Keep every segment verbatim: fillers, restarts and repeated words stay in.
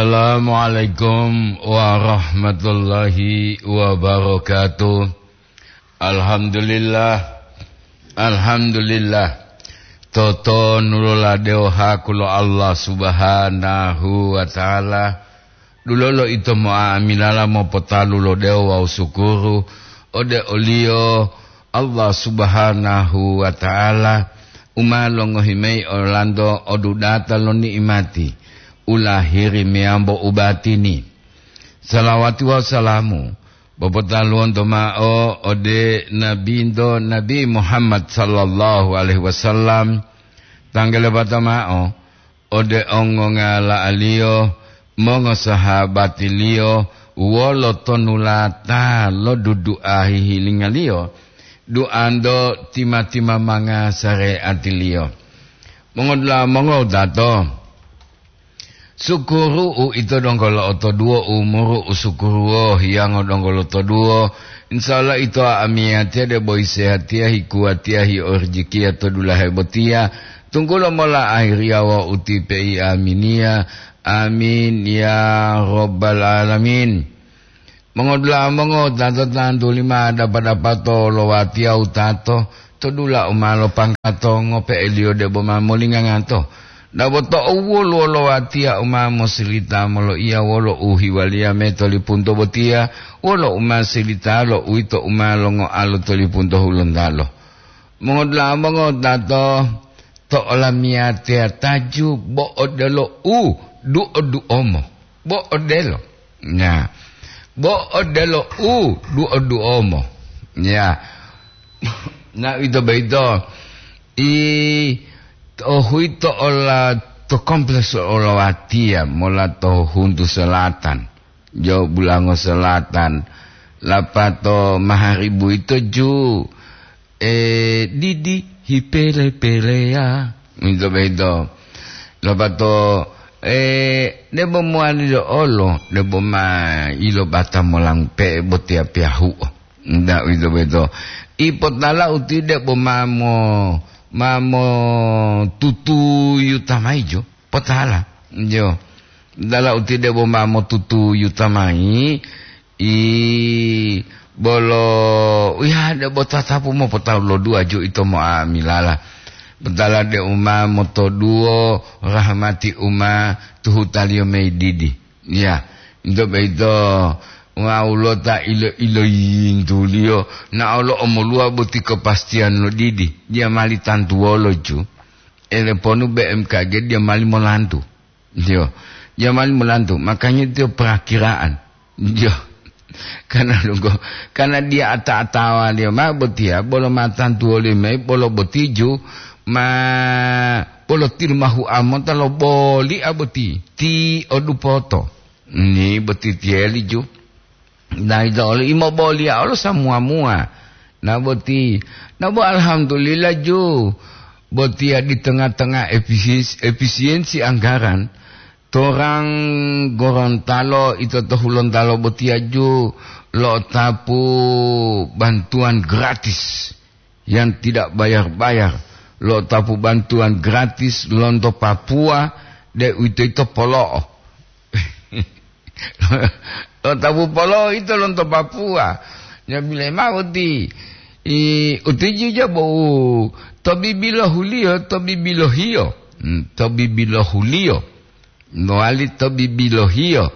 Assalamualaikum warahmatullahi wabarakatuh. Alhamdulillah. Alhamdulillah. Totonulola dewo haku lo Allah Subhanahu wa Ta'ala. Dulolo ito mo'amilala mopotalu lo dewo wawu sukuru ode oliyo Allah Subhanahu wa Ta'ala u ma longohi mayi olanto odudata lo ni'imati u lahiri meyambo u batini. Salawati wawu salamu popotaluwonto ma'o ode Nabinto Nabi Muhammad sallallahu alaihi wasallam, tanggalebata ma'o ode ongongala'aliyo, mongosahabatiliyo, wolo tonulata lo dudu'a hihilinga-Liyo, duanto tima-timamanga sareatiliyo. Mongodula'a mongowutato, sukuru uito donggo lo'otoduwo, umuru u sukuruwo hiyango donggo lotoduwo. Insya Allah ito amiyatiya debo hisehatiya, hikuwatiya, hiorijikiya to dulahe botiya, tunggulo mola ahiriya wawu ti pei aminiya. Amin ya rabbal alamin. Mongodula'a mongowutato, tantuli ma dapa-dapato lo watiya wutato to dula u ma lopanggato ngope'eliyo debo ma molingangato. Dabo to'u woluwo lo watiya u ma mosilita moloiya wolo u hiwaliya mayi to lipunto botiya, wolo u ma silita lo uwito u ma longoalo to lipunto Hulontalo. Mongodula'a mongowutato, to olamiyatiya taju bo odelo u duo-duomo. Bo odelo. Nah, bo odelo u duo-duomo. Ya. Na ito boyito, i to huito ola to kompleks olowatiya mola to huntu selatan. Jo Bulango Selatan, lapato maharibu ito ju, e, didi hipele-peleya. Ito boyito. Lapato, e, debo mowali lo olo, debo ma ilobata molangu pe'e botiya piyahu'o. Nda uwito boyito. Ipotala uti debo ma mo, ma motutuyu tamayi jo. Potala. Jo. Dala uti debo ma motutuyu tamayi, i bolo, uya debo tatapu mopotalu lo duwa ju ito mo'amilala. Potala de uma motoduwo rahmati uma tuhutaliyo mayi didi. Ya, ito boyito wawulo ta ilo-iloyintuliyo, na olo omoluwa boti kepastiyan lo didi, diya mali tantuwolo ju. Eleponu B M K G diya mali molantu. Diyo, diya mali molantu, makanya diyo perakiraan. Diyo. Karena lunggo, karena diya ata-atawaliyo ma botiya, bolo ma tantuwoliyo mayi, bolo boti ju, ma bolo tilumahu amota lo boli a boti, ti odupoto. Ni boti tiyeli ju. Nayi to olo imoboliya olo samuwa-muwa. Na boti, na bo alhamdulillah ju. Botiya di tengah-tengah efisiensi, efisiensi anggaran, torang Gorontalo ito to Hulontalo botiya ju lo'otapu bantuan gratis. Yang tidak bayar-bayar, lo'otapu bantuan gratis lonto Papua, deuwitoyito polo'o. Lo'otapu polo'o ito lonto Papua. Nyabile mao ti, i, utiji ja bo u to bibilohuliyo, to bibilohiyo. Hmm, to bibilohuliyo. Mowali to bibilohiyo.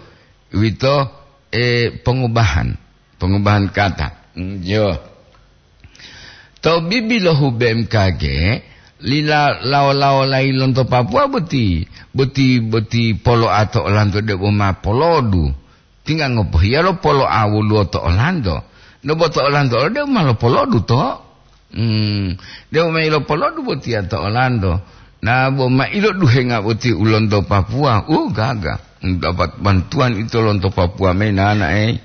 Uwito, e, pongubahan. Pongubahan kata. Mm, yo. To bibilohu B M K G, lila lawo-lawolayi lonto Papua boti, boti, boti polo'a to olanto debo ma polodu. Tingga ngopohiya lo polo'a woluwo to olanto. Debo to olanto olo debo ma lopolodu to. Hmm, debo ma ilopolodu botiya to olanto. Na bo ma iloduhenga boti u lonto Papua, uh, gaga. Dapat bantuan ito lonto Papua mayi nanae.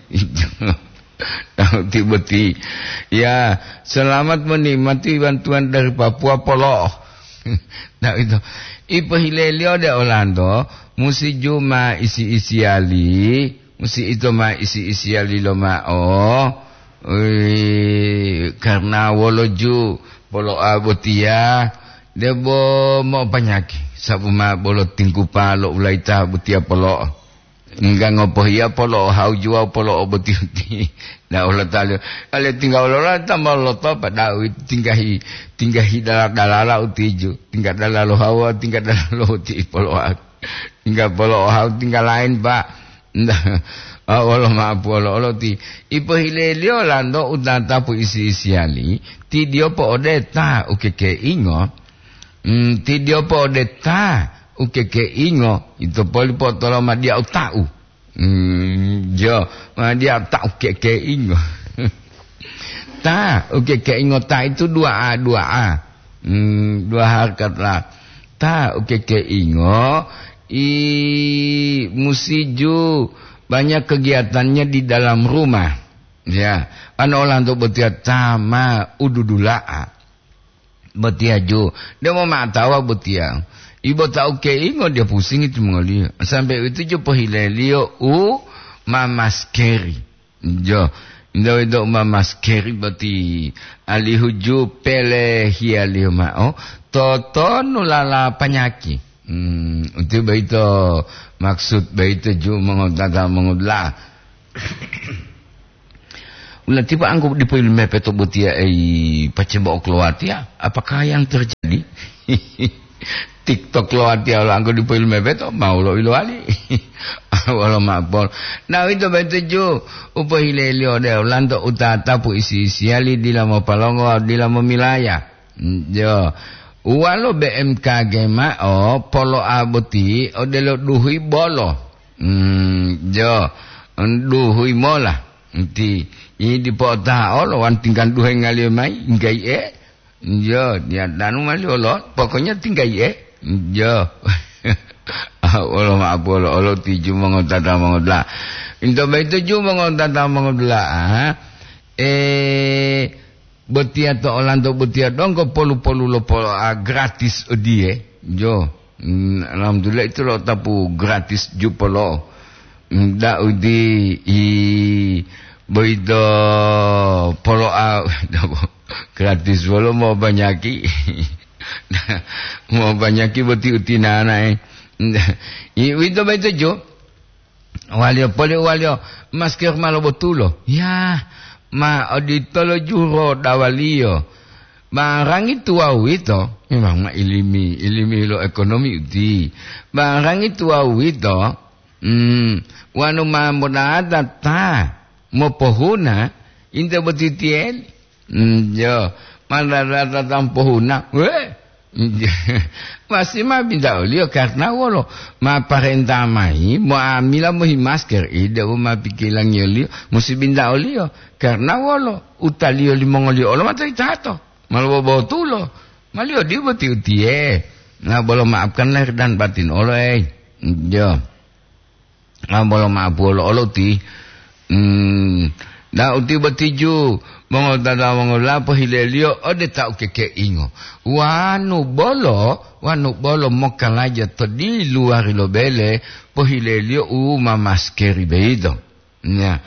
Ti boti. Ya, selamat menikmati bantuan dari Papua polo'o. Nah, itu. Ipohileliyo de olanto, musi ju ma isi-isiyali, musi ito ma isi-isiyali lomao. Ui, karna wolo ju polo'a botiya, debo mo'opanyaki, sabu ma bolo tingkupa lo ulayita botiya polo'o. Engga ngopohiya polo'ohauju wawu polo'oboti-boti. Na olotaliyo, ale tingga wolola ta ma lotopa, da'u tinggahi, tinggahi dala-dalala utiju, tingga dalalo hawa, tingga dalalo uti polo'ohau. Tingga polo'ohau, tingga lain, Pak. Nda, a, wolo ma'apu olo-olo ti, ipohileliyo lanto utatapu isi-isiyali, ti diyo po'ode ta ukekeingo, mm, ti diyo po'ode ta ukekeingo, ito poli po'otoloma diya uta'u. Hmm, jo, ma dia tak kekeingo. Ta, oke, keingo ta itu dua A, dua A. Hmm, dua harkat lah. Ta, oke, keingo, i musiju banyak kegiatannya di dalam rumah. Ya, ano olanto botia tama ududula'a. Botiya ju, demo ma'atawa botiya. Ibo ta ukeingo dia pusingi timongoliyo. Sampai itu ju pohileliyo u mamaskeri. Jo, nda wedo u mamaskeri boti alihu ju pelehiyaliyo ma'o, totonu lala panyaki. Hmm, uti boyito maksud boyito ju mongotata mongodula'a. Ulatipa anggo dipo ilumepe to botiya ei pacebo oklowatiya, apakah yang terjadi? TikTok lowatiya lo anggo dipo ilumepe to, mau lo ilowali. Wolo mapol. Na wito betuju, upohileliyo de olanto utatapu isi-isiyali dila mopalongo, dila momilaya. Jo, uwalo B M K G ma'o polo'a boti odelo duhui bolo. Hmm, jo, duhui mola. Nti, i dipo otaha olo, wan tinggal duhe ngaliyo mai, nggai e. Jo, dia danu mali olo, pokoknya tinggai e. Jo. Ah, olo ma'apu olo, olo tiju mongotata mongodula. Into baito ju mongotata mongodula, ah. Eh, botiya to olanto botiya donggo polu-polu lo polo'a gratis odiye. Jo. Mm, alhamdulillah itu lo tapu gratis ju polo. Mm, da udi i boyito polo'a gratis wolo mau banyaki. Mau banyaki boti utinana e. I wito baito jo. Waliyo poli waliyo masker ma lobotulo. Ya, ma oditolo juro dawaliyo. Barangi tuwawu yito, memang ma ilimi, ilimi lo ekonomi uti. Barangi tuwawu yito, mm, wanu ma modata ta mopohuna, inte botitiyeli. Mm, jo, ma data ta mopohuna, we, Masih ma binta oliyo karna wolo? Ma parenta mayi moamila mohi masker ide u ma pikilangiyoliyo musi binta oliyo karna wolo? Utaliyo limongoliyo olo matoyitato, ma lobobotulo, maliyo diyo boti utiye. Na bolo maafkan lahir dan batin olo, ei. Jo. Ah, bolo ma'apu olo-olo ti. Hmm, da uti botiju, mongotata mongolapo hileliyo ode ta ukekeingo. Wanu bolo, wanu bolo mokalaja to diluwari lo bele, pohileliyo u ma maskeri boyito. Ya,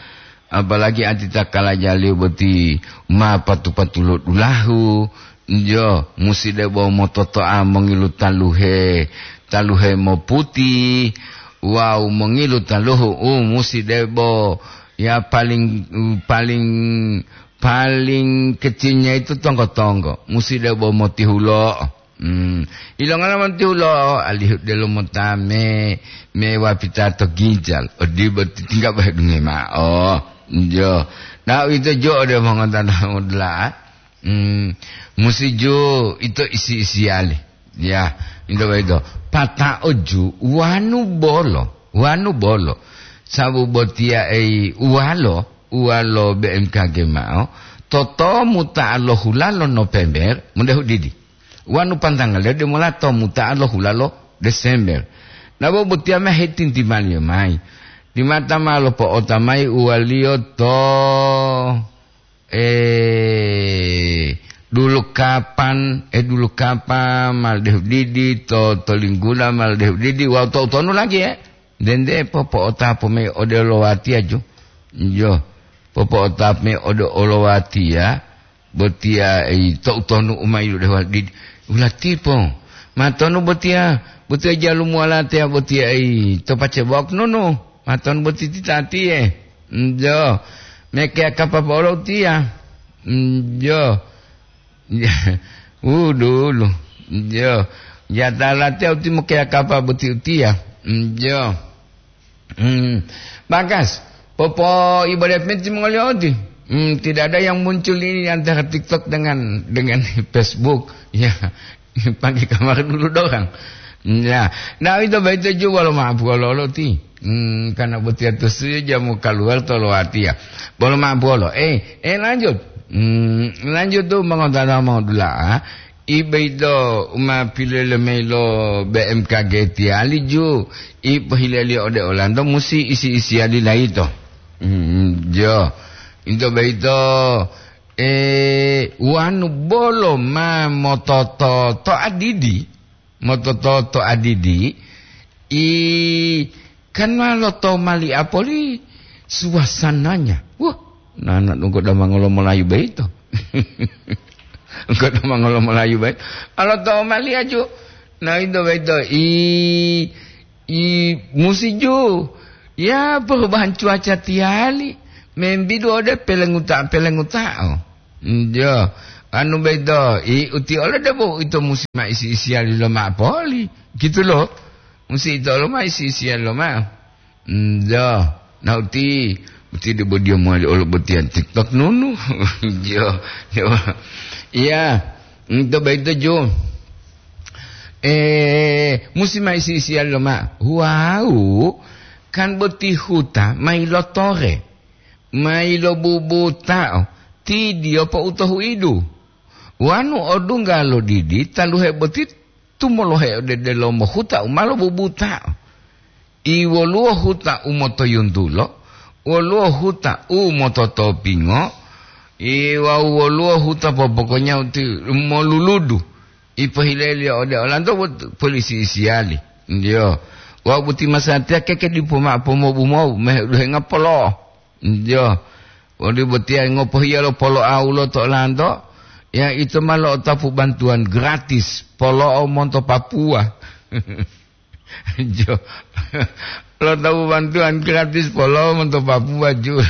apalagi ati ta kalajaliyo boti ma patu-patu lo dulahu, jo, musi debo mototo'a mongilu taluhe, taluhe moputi, wawu mongilu taluhu u musi debo, ya, paling, paling, paling kecilnya itu tonggo-tonggo, musi debo motihulo'o. Hmm. Ilongala montihulo'o, alihu delo mota me, me wapita to ginjal. Odibo titingga bahedunge ma'o. Jo. Na uwito jo ode mongotana modula'a. Hmm, musi ju ito isi-isiyali. Ya, into boyito. Pata'o ju wanu bolo, wanu bolo. Sabu botiya ei uwalo, uwalo B M K G ma'o, totomu ta lo hulalo November, mudahu didi. Wanu pantangaliyo demola to muta'a lo hulalo Desember. Nabo botiya ma hetintimaliyo mayi. Timata ma lopo'ota mayi uwaliyo to Eh, dulu kapan, eh, dulu kapan, mal dehu didi, to, to linggula, mal dehu didi, wawu to utonu lagi, eh. Dende popo'otapu me ode olowatiya ju. Jo, popo'otapu me ode olowatiya, botiya, eh, to utonu umayilu dehu didi. Ulatipo, matonu botiya, botiya jalumuwala teya botiya, eh, to pacebok nunu. Maton boti titatiye. Njo. Mekeya kapa polo utiya. Njo. Wudulu. Njo. Jata latiya uti mekeya kapa boti utiya. Njo. Hmm. Bagas. Popo ibadah penti mongoliyo uti. Hmm, tidak ada yang muncul ini antara TikTok dengan, dengan Facebook. Ya. Pakai kamar dulu dorang. Ya. Nah, itu baik itu juga lo maaf kalau lo ti. Hmm, karena boti atus jamu keluar tolo hati ya. Bolo maaf bolo. Eh, eh, lanjut. Hmm, lanjut tu mongotana mau dula. Ibe itu uma pilele mayi lo B M K G tiali ju. Ipo hileli ode Orlando musi isi-isiali laito. Hmm, jo. Into baito, eh, wanu bolo ma mototo to adidi. Motototo adidi, i, kan ma lotomali apoli suasananya. Wah, nana donggo damangolo Melayu baito. Donggo damangolo Melayu baito. Alotomali aju. Na ito baito, i, i, musi ju. Ya, perubahan cuaca tiali. Membidu ode pelenguta-pelengutao. Njo, anu boyito, i, uti olo debo ito musi ma isi-isiyali lomao poli, gitu lo. Musi ito olo ma isi-isiyali lomao. Njo, na uti, uti debo dia mowali olo botiya TikTok nunu. Njo, njo. Iya, nto boyito ju. Eh, musi ma isi-isiyali lomao. Wau, kan boti huta ma ilotore. Ma ilobubutao, tidiyo po'u to huidu. Wanu odungga lo didi, taluhe boti tumolohe ode delomo huta u ma lobubutao. I woluwo huta u motoyuntulo, woluwo huta u mototopingo, i wawu woluwo huta popokonya uti moluludu. I pohileliyo ode olanto bot-, polisi isiyali. Ndiyo. Wawu boti masatiya keke dipo mao pomobu-mobu, mehe duhenga polo'o. Njo, woli botiya ngopohiya lo polo'o ulo to olanto, ya ito ma lo'otapu bantuwan gratis, polo'o monto Papua. Njo, lo'otapu bantuwan gratis, polo'o monto Papua ju.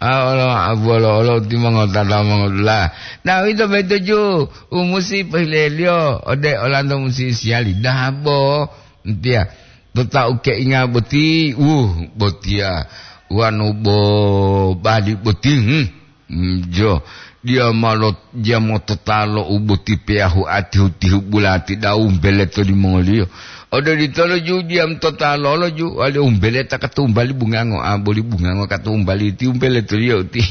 Ah, olo, abuwolo, olo, timongotata mongodula. Nah, ito beto ju, umusi pohileliyo, ode olanto musi siyali. Dabo, ntiya. To ta ukeinga boti, uh, botiya, wanu bo bali boti, hmm. Hmm, jo, diya malo, diya mototalo u boti peyahu atihu-tihu bulati dau umbeleto limongoliyo. Ododitolo ju diya mototalo lo ju, wali umbeleta katumbali bungango, a, boli bungango katumbali ti umbeleto liyo uti.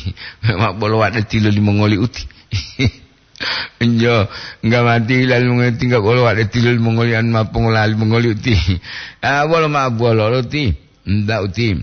Memang bolo wade tilo limongoli uti. Njo, ngamati lali mongoli tingga bolo wade tilo limongoli anu ma pongolali mongoli uti. Ah, bolo ma bolo lo ti. Nda uti.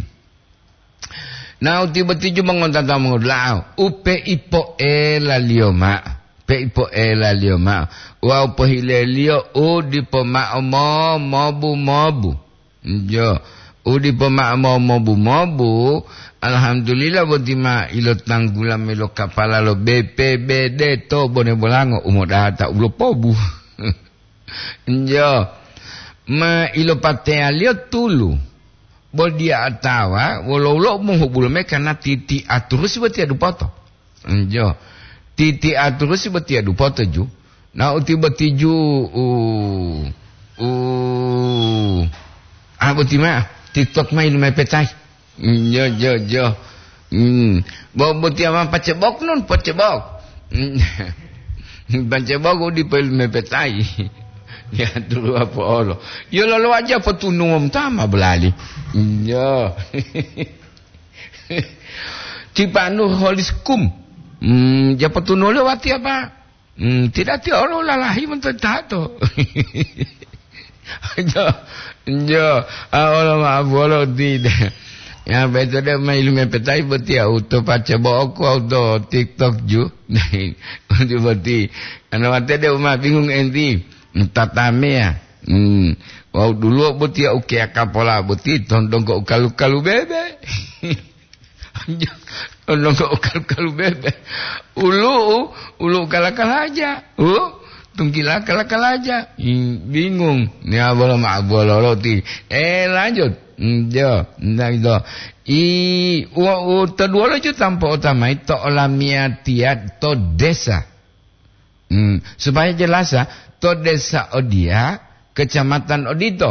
Na uti boti ju mongontata mongodula'o. Upe ipo'elaliyo ma'o. Pe ipo'elaliyo ma'o. Wawu pohileliyo u dipo ma'o mo-, mobu-mobu. Jo, u dipo ma'o mo-, mobu-mobu, alhamdulillah boti ma ilotanggula mayi lo kapala lo B P B D to Bone Bolango, u modata u lopobu. Jo, ma ilopateyaliyo tulu, bo diya atawa wolo-wolo mongobulo mayi kana titi aturusi botiya dupoto. Njo. Titi aturusi botiya dupoto ju. Na uti boti ju u, u, ah, boti ma, TikTok ma ilumepetai. Njo, jo, jo. Hmm. Bo, botiya ma pacebok nun, pacebok. Hmm. Pacebok u dipo ilumepetai. Ya, tulu apa olo. Yo lolo aja potunungom tama belali. Njo. Tipanu holiskum. Hmm, ja potunule wati apa? Hmm, tidak ti olo lalahi monto tato. Jo, jo, a olo ma bolo tidak. Ya, beto de ma ilumepetai boti ya, uto pace boko, uto TikTok ju. Uti boti. Ana wate de uma bingung enti. Tatameya. Hmm. Wawu duluwo boti ya ukeya kapola boti tondonggo ukalu-kalu bebe. Tondonggo ukalu-kalu bebe. Ulu'u, ulu'u kala-kalaja. U, tunggila kala-kalaja. Hmm, bingung. Ni abolo ma abolo loti. Eh, lanjut. Mm, jo, nah, itu. I, u, u, to duwolo ju tampo otamayi to olamiyatiya to desa. Hmm, supaya jelas, ah, to desa odiya, kecamatan odito.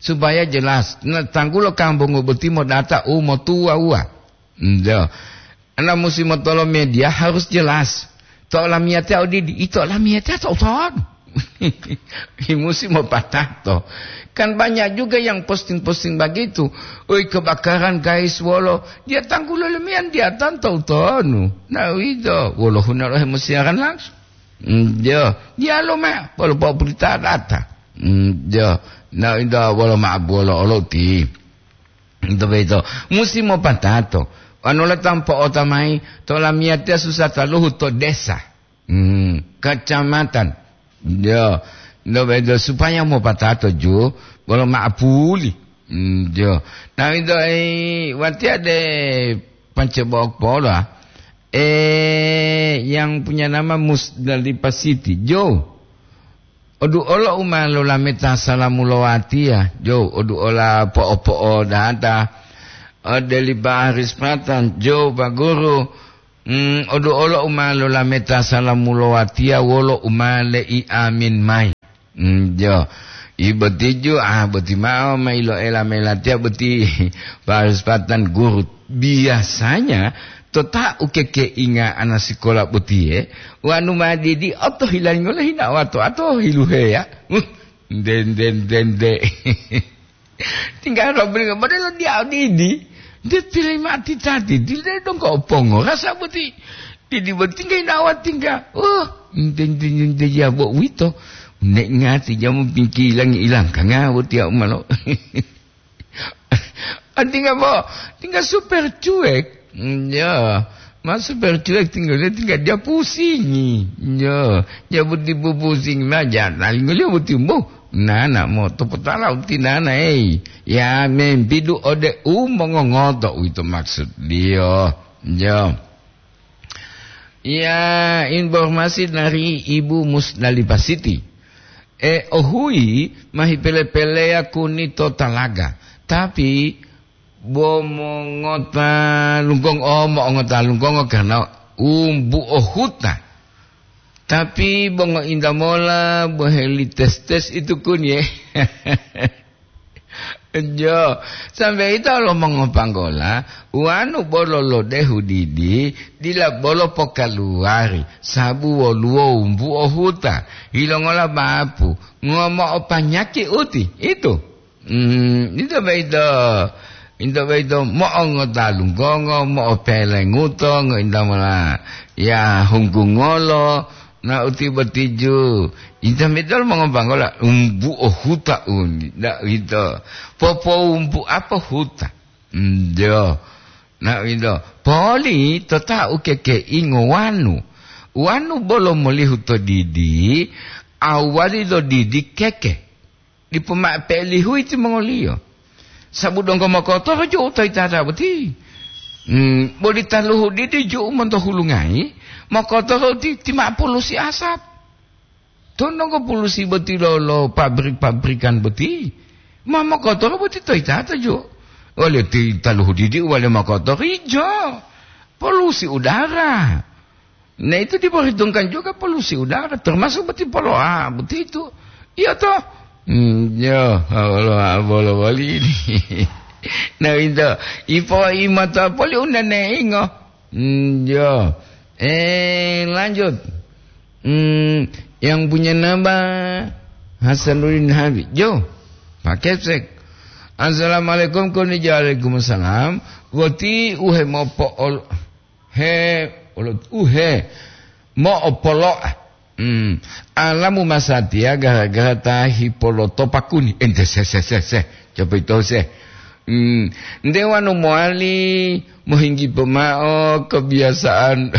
Supaya jelas, na tanggulo kambungu boti modata u motuwa-uwa. Hmm, jo. Ana musi motolo media harus jelas. To olamiyatiya odidi, ito olamiyatiya to ton. Musi mopatato. Kan banyak juga yang posting-posting begitu. Oi, kebakaran, guys, wolo. Dia tanggulo lemiyan dia tanto utonu. Nah, itu. Wolo hunalo hemusiaran langsung. Mm, jo, dialo ma, wolo po'oburita data. Mm, jo, na inda wolo ma'abuwolo olo ti. Ito boyito, musi mopatato. Wanu la tampo otamayi, to lamiyatiya susa taluhu to desa. Mm, kacamatan. Jo, ito boyito supaya mopatato ju, wolo ma'apuli. Mm, jo. Na ito, eh, watiya de pancebok polo, ah. Eh, yang punya nama Musdalifah City. Jo. Odu olo u ma lolameta salamu lo watiya. Jo, odu ola po'o-po'o data. Ode li Pak Haris Patan. Jo, Pak Guru. Hmm, odu olo u ma lolameta salamu lo watiya wolo u ma le'i amin mayi. Hmm, jo. I boti ju, ah, boti ma'o ma iloela-mela tiya boti Pak Haris Patan guru. Biasanya to ta ukekeinga ana sikola botiye, wanu ma didi oto hilango le hina wato ato hiluheya. Uh, nde, nde, nde, nde. Tinggal robring modelo dia didi. Dia pilih mati tadi, dia dongko pongo rasa boti. Didi boti tinggal hina wato tinggal. Oh, nde, nde, nde, nde, ya bo wito. Nek ngati jamu pingki ilang-ilang kanga boti ya umalo. Ah, tinggal bo, tinggal super cuek. Mm, ya, ma super cuek tinggal dia, tinggal dia pusingi. Ya, ya boti bu pusing ma jangan tinggal dia boti bu. Nana mo to potala uti nana, eh. Ya, membidu ode u mongongoto, uwito maksud dia. Ya. Ya, informasi dari Ibu Musdalifah Siti. E, ohuyi ma hipele-peleya kuni to talaga, tapi bo mongota lunggongo, oh, mo'ongota lunggongo karena umbu ohuta. Tapi bo ngointa mola, bo heli tes-tes itu kuni, eh. Jo, sambe ito lo mongopanggola, wanu bolo lodehu didi, dila bolo pokaluwari, sabu woluwo wumbu ohuta, yilongola bapu, ngomo'o panyaki uti, itu. Hmm, ito boyito, ito boyito mo'ongota lunggongo, mo'opelenguto, ngointa mola ya hunggungolo, na uti botiju. Ito mitol mongopanggola, umbu ohuta uni, na uwito. Popowumbu apo huta? Njo. Na uwito. Poli to ta ukekeingo wanu. Wanu bolo molihu to didi, awali lo didi keke. Dipo ma'o pe'elihuyi timongoliyo. Sabu donggo mokotoro ju'u to yitata boti. Hmm, boli taluhu didi ju'u monto hulungayi, mokotoro ti, ti ma'o polusi asap. To donggo polusi boti lo, lo pabrik-pabrikan boti. Ma mokotoro boti to yitata ju'u. Wale ti taluhu didi wale mokotoro ijo. Polusi udara. Nah, itu diperhitungkan juga polusi udara, termasuk boti poloa, begitu. Iya toh? Hmm, ya, poloa, poloa ini. Nah, itu. Ipo imata poli undane ingo. Hmm, ya. Eh, lanjut. Hmm, yang punya nama Hasanuddin Habib. Jo, Pak Kepsek. Assalamualaikum, koni waalaikumsalam. Wati uhe mopo ol-, He, olo-, uhe, mo'opolo'a. Hmm. Alamu masatiya gara-gara ta hipolotopa kuni. Ente se, se, se, se. Coba ito se. Hmm. Nde wanu mowali mohinggi pomao kebiasaan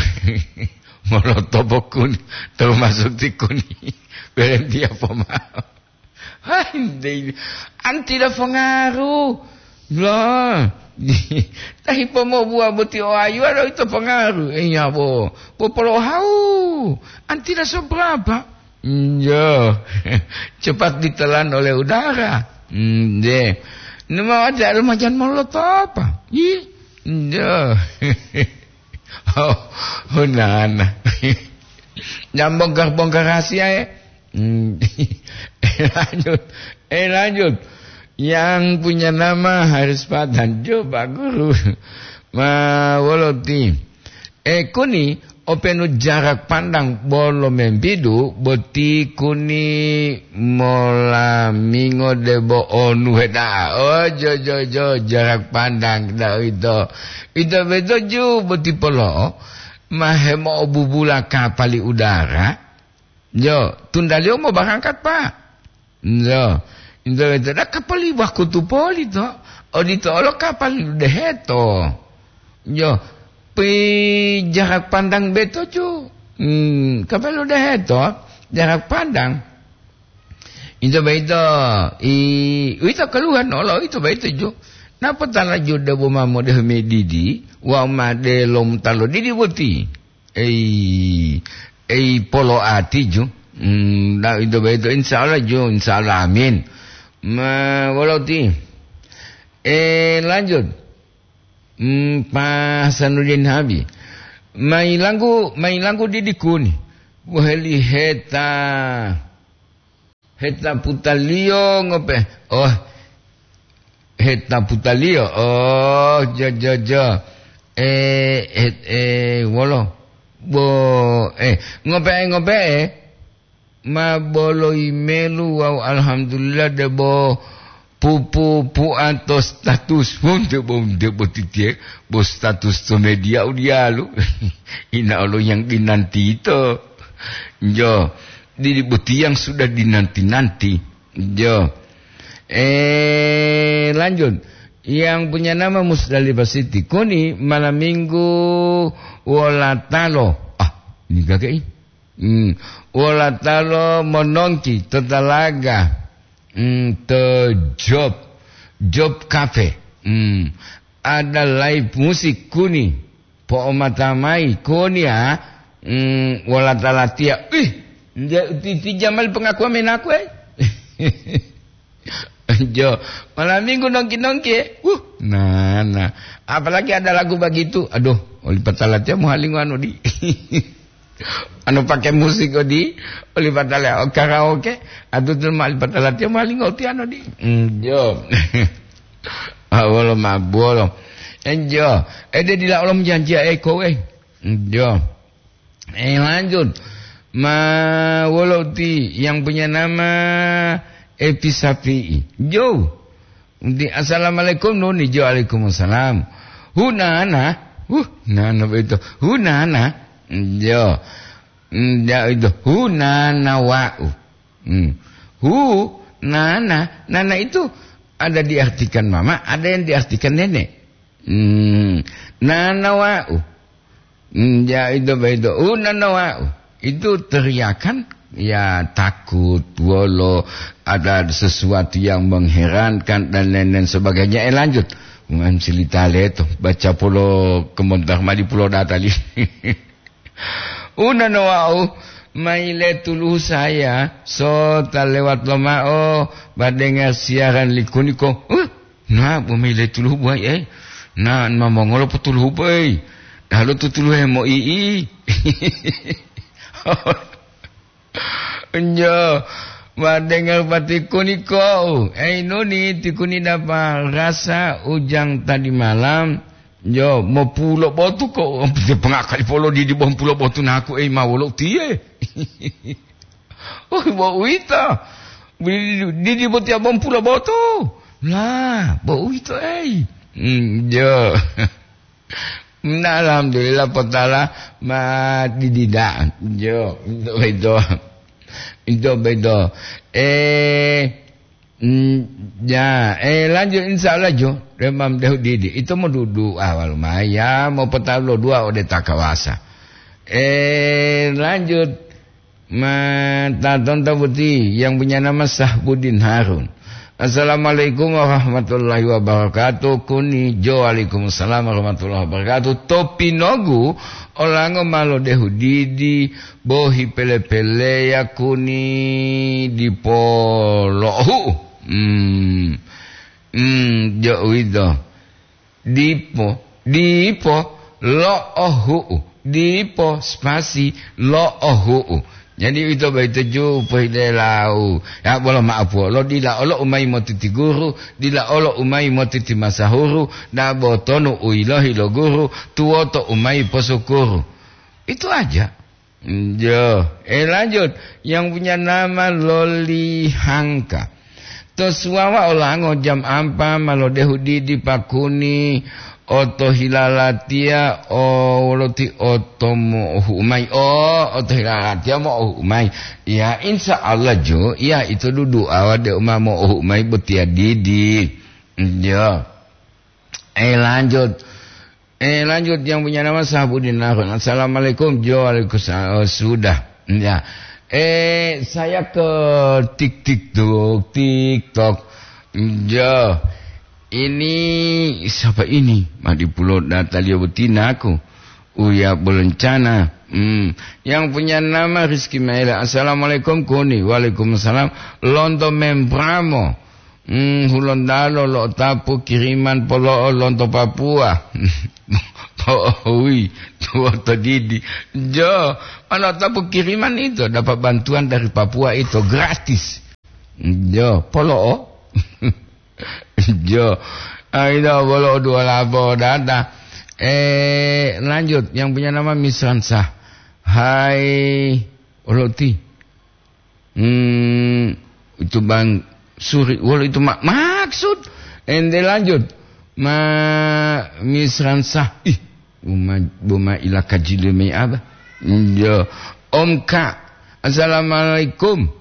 molotopo kuni, termasuk ti kuni. Berhenti apa mau? Hai, dei, an tidak pengaruh. Lah, tahi pomobuwa boti o ayuwa lo ito pengaruh. Iya, bo. Bo polohau. An tidak seberapa. Iya. Cepat ditelan oleh udara. Hmm, deh. Nima wati alu majan molotopa. Ih, njo. Oh, hunana. Jam bongkar-bongkar rahasia, ya. Hmm. Eh, lanjut. Eh, lanjut. Yang punya nama Haris Patan. Jo, Pak Guru. Ma, woloti. E kuni, openu jarak pandang bolo membidu, boti kuni molamingo debo onu heda'a. Oh, jo, jo, jo, jarak pandang, da ito. Ito beto ju boti polo'o, ma hemo'obubula kapali udara. Jo, tundaliyo mobarangkat, Pak. Njo, njo ito da kapali wakutu poli to, odito olo kapali deheto. Jo, pi jarak pandang beto ju. Hmm, kapali deheto, jarak pandang. Ito beito, i, uwito keluhan olo ito beito ju. Napa tala ju debo ma modehu medidi, wa ma delom talo didi boti. Ei, ei polo'ati ju. Hmm, da, ito boyito, insya Allah ju, insya Allah, amin. Ma, wolo ti? Eh, lanjut. Hmm, Pak Hasanuddin Habib. Mailanggu, mailanggu didikuni. Waheli heta. Heta putaliyo ngope. Oh, heta putaliyo. Oh, jo, jo, jo. Eh, het-, eh, wolo. Bo, eh, ngope'e, ngope'e. Ma bolo imelu wawu alhamdulillah debo pupu pu'anto status. Wong debo, debo titiye, bo status to media udiyalu. Ina olo yang dinanti ito. Jo, didi boti yang sudah dinanti-nanti. Jo. Eh, lanjut. Yang punya nama Musdalifah Siti. Kuni malam minggu wolatalo. Ah, ini kakek ini. Hmm. Wolatalo monongki to talaga. Hmm, to job. Job cafe. Hmm. Ada live musik kuni. Po'omata mayi koni ya, mm, wola talatiya. Ih, nde uti-, ti jamal pengakuan menaku, eh. Jo, malam minggu nongki-nongki, eh. Wuh, nah, nah. Apalagi ada lagu begitu. Aduh, oli patalatiya muhalingo anu di. Anu pakai musik odi, oli patala, oh, karaoke, atu tu ma-, oli patalatiya muhalingo ti anu di. Mm, jo. Ah, wolo ma-, bolo. Enjo, ede dila olom janjiya eko, eh. Enjo. Eh, lanjut. Ma, wolo ti yang punya nama Epi Sapi'i. Jo. Di, "Assalamualaikum, Nuni." Jo, "Waalaikumsalam." "Hunana." Huh, nana begitu. "Hunana." Jo. Enjo itu. "Hunana wa'u." Hmm. Hu, nana, nana itu ada diartikan mama, ada yang diartikan nenek. Hmm. Nana wa'u. Hmm, ya, itu begitu. Uh, nana wa'u. Itu teriakan, ya, takut, wolo, ada sesuatu yang mengherankan, dan lain-lain sebagainya. Eh, lanjut. Bukan cerita leto. Baca pulo kemontar mali pulo data li. Una no wau, maile tuluhu saya, sota lewat lomao, badenga siaran likuniko. Huh, na, bo maile tuluhu buai, eh. Na, ma mongolo po tuluhu, boy. Dalo tutuluhe mo ii. Njo, badenga patikuniko. Ei, Nuni, tikuni dapa rasa ujang tadi malam. Jo, mopulo botu ko, pengakali polo didi bompulo botu naku, ei, ma wolo utiye. Oh, bo uwito. Didi, didi botiya bompulo botu. Lah, bo uwito, ei. Hmm, jo. Nah, alhamdulillah, potala ma didi da'a. Jo, ito bedo. Ito bedo. Eh, Mm, ya, eh, lanjut, insya Allah, jo. Remam dehu didi. Itu mau dudu awal maya, mau petalo dua ode takawasa. Eh, lanjut. Ma, taton tabuti yang punya nama Sahbudin Harun. "Assalamualaikum warahmatullahi wabarakatuh." Kuni jo, "Waalaikumsalam warahmatullahi wabarakatuh." Topi nogu, olango malo dehu didi, bohi pele-peleya kuni dipo lo'ohu'u. Hmm. Hmm, jo uwito. Dipo, dipo, lo'ohu'u. Dipo, spasi, lo'ohu'u. Jadi, uwito boyito ju pohilelau. Ya, bolo ma'apuwolo, dila olo u mayi motiti guru, dila olo u mayi motiti masahuru, dabo tonu u yilohi lo guru, tuwoto u mayi posukuru. Itu aja. Yo, eh, lanjut. Yang punya nama Loli Hangka. To suwawa olango jam ampa ma lodehu didi pakuni oto hilalatiya o woloti oto mo'ohu'u mayi. Oh, oto hilalatiya mo'ohu'u mayi. Ya, insya Allah jo, ya itu dudu awa de uma mo'ohu'u mayi botiya didi. Yo. Eh, lanjut. Eh, lanjut, yang punya nama Sahabudin Harun. Assalamualaikum. Jo, waalaikumsalam. Oh, sudah. Ya. Eh, saya ke tik tik tok, TikTok. Jo. Ini siapa ini? Madipulo data liyo betina aku. Uya Belencana. Hmm. Yang punya nama Rizky Maela. Assalamualaikum, Kuni. Waalaikumsalam. Lonto Membramo. Hmm, Hulontalo lo'otapu kiriman polo'o lonto Papua. Po'ohui, tuwoto didi. Jo, ma lo'otapu kiriman ito, dapat bantuan dari Papua ito gratis. Jo, polo'o. Jo. Ah, ito polo'o dua lapo data. Eh, lanjut, yang punya nama Misransa. Hai, Oloti. Hmm, itu Bang Suri, wolo itu ma-, maksud. Ente lanjut. Ma Misransa. Ih, buma, buma ila kajile mai apa? Yo, Om Ka. Assalamualaikum.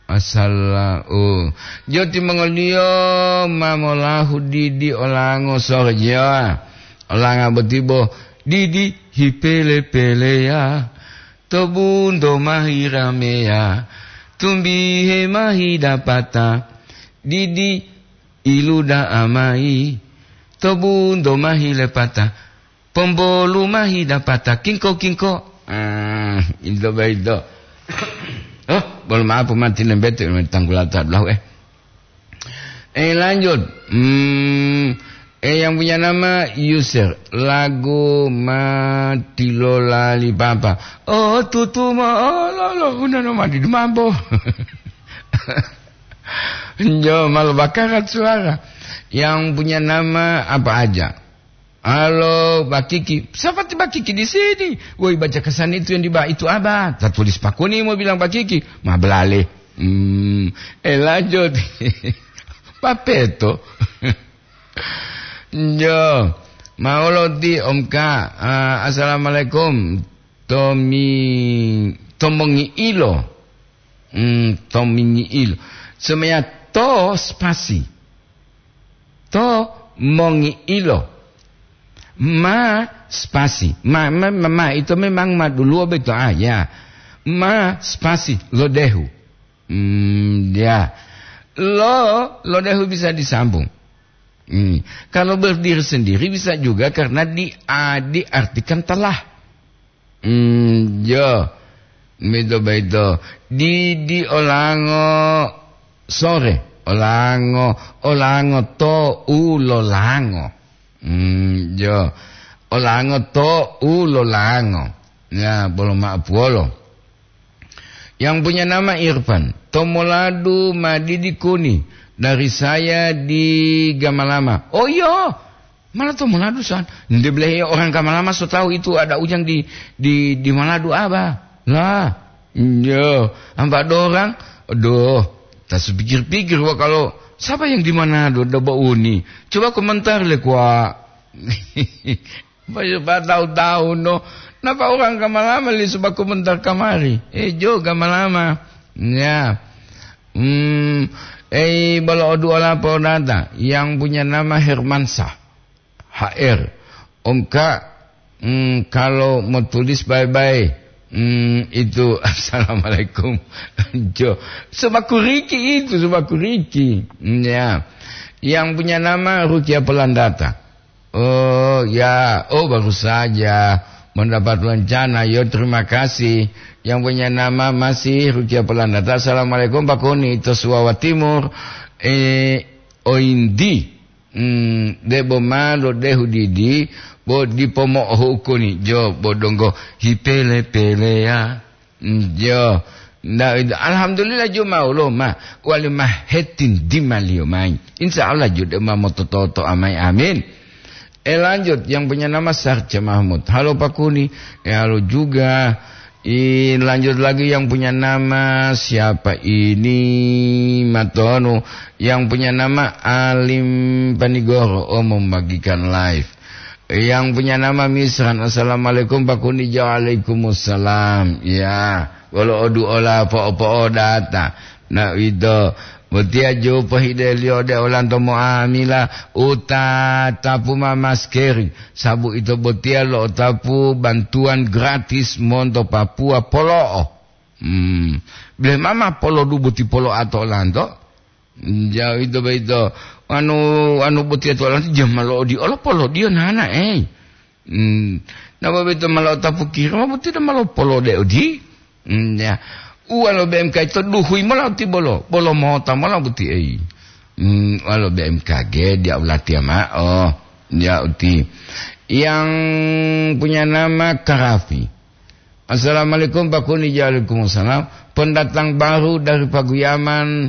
Assala-, oh. Jo timongoliyo ma molahu didi olango sorja. Olanga botibo didi hipele-peleya. To bunto mahi rameya, tumbihe mahi dapata, didi iluda'a mayi, to bunto mahi lepata, pombolu mahi dapata, kingko-kingko. Ah, ito boyito. Oh, bolo maaf, mati lembete, tanggulata dulahu, eh. Eh, lanjut. Hmm, eh, yang punya nama Yusir. Lagu Mati Lolali Papa. Oh, tutu ma-, oh, lo, lo, udah no mati di mambo. Jo, malu bakarat suara. Yang punya nama apa aja? Halo, Bakiki. Siapa ti Bakiki di sini? Woi, baca kesan itu yang di bawah itu, Abah. Tak tulis pakuni mau bilang Bakiki. Ma belale. Hmm, eh, lanjut. Papeto. Jo. Maolo di Om Ka. Ah, assalamualaikum. Tomi, tomongi ilo. Hmm, tomingi ilo. Semuanya to spasi. To mongi'ilo. Ma spasi. Ma, ma, ma, ma, itu memang ma duluwo beto, ah, ya. Ma spasi, lodehu. Hmm, ya. Lo, lodehu bisa disambung. Hmm. Kalau berdiri sendiri bisa juga karena di-, a-, diartikan telah. Hmm, yo. Mito baito. Di, di olango sore. Olango, olango to u lolango. Hmm, yo. Olango to u lolango. Ya, bolo ma'apuwolo. Yang punya nama Irfan. Tomoladu madidi kuni dari saya di Gamalama. Oh, iyo. Malah to Manado san. Nde belehe orang Kamalama so tahu itu ada ujang di, di, di Manado apa? Lah, iya, ampa dorang. Aduh, tak sepikir-pikir wa kalau siapa yang di Manado da bauni. Coba komentar le kwa. Supaya tahu-tahu no. Napa orang Kamalama li sebab komentar kamari? Eh, jo Kamalama. Ya. Hmm, eh, bala o dua lapor data yang punya nama Hermansyah. H R. Om Kak, hmm, kalau mau tulis bye-bye, hmm, itu assalamualaikum. Jo, sebaku Riki itu, sebaku Riki. Hmm, ya. Yang punya nama Rukia Pelandata. Oh, ya. Oh, baru saja mendapat rencana. Yo, terima kasih. Yang punya nama masih Rukia Pelandata. Assalamualaikum, Pak Koni, itu Suwawa Timur. Eh, Ointi, mm, debo ma lodehu didi, bo dipo mo'ohu'u koni jo, bo donggo hipele-peleya. Mm, jo. Nda, alhamdulillah jo ma ulo ma, wali ma hetin dimaliyo mai. Insya Allah jo de ma motototo amai, amin. Eh, lanjut, yang punya nama Sarja Mahmud. Halo Pak Kuni. Eh, halo juga. I, lanjut lagi yang punya nama siapa ini? Matonu. Yang punya nama Alim Panigoro. Oh, membagikan live. Yang punya nama Misran. Assalamualaikum Pak Kuni. Waalaikumsalam. Ya, wolo odu ola po'o-po'o data. Na ito, botiya ju pohideliyo de olanto mo'amila uta tapu ma maskeri, sabu ito botiya lo'otapu bantuan gratis monto Papua polo'o. Hmm. Bile mama polodu boti polo'a to olanto? Jauh ito boyito. Anu, anu botiya to olanto jama lo'odiyo olo polodiyo nana, eh. Hmm. Napa boyito ma lo'otapu kiri, ma botiya ma lopolode odi? Hmm, ya. Uwa lo B M K ito duhuyi mola uti bolo, bolo mota mola uti ei. Hmm, uwa lo B M K G dia ulatiya ma'o, dia uti. Yang punya nama Karafi. Assalamualaikum Pak Kuni, waalaikumsalam. Pendatang baru dari Paguyaman,